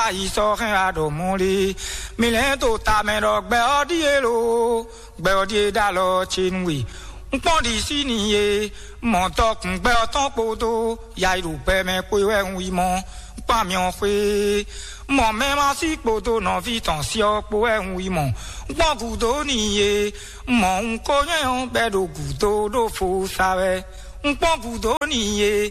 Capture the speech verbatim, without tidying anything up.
ayi sɔ́ hɛn wá ɖɔ mɔ̌ lé. Mi lɛ́n to tamɛ ɖɔ gbɛ ɔ́ ɖíe lo, gbɛ ɔ́ ɖíe ɖó alɔ ce nú we. Un kpɔ́n ɖi sí n'i e, mɔ tɔkùn gbɛ ɔ́ tɔn kpódó yayi ɖo gbɛ mɛ kpó wɛ un yi mɔ. Un kpɔ́n amyɔ xwé, mɔ mɛ ma sí kpódó nɔví tɔn sí ɔ́ kpó wɛ un yi mɔ. Un kpɔ́n gǔdo n'i e, mɔ un ko nyɛ ɔ́ bɛ ɖo gǔdo ɖó fo sa wɛ. Un kpɔ́n gǔdo n'i e,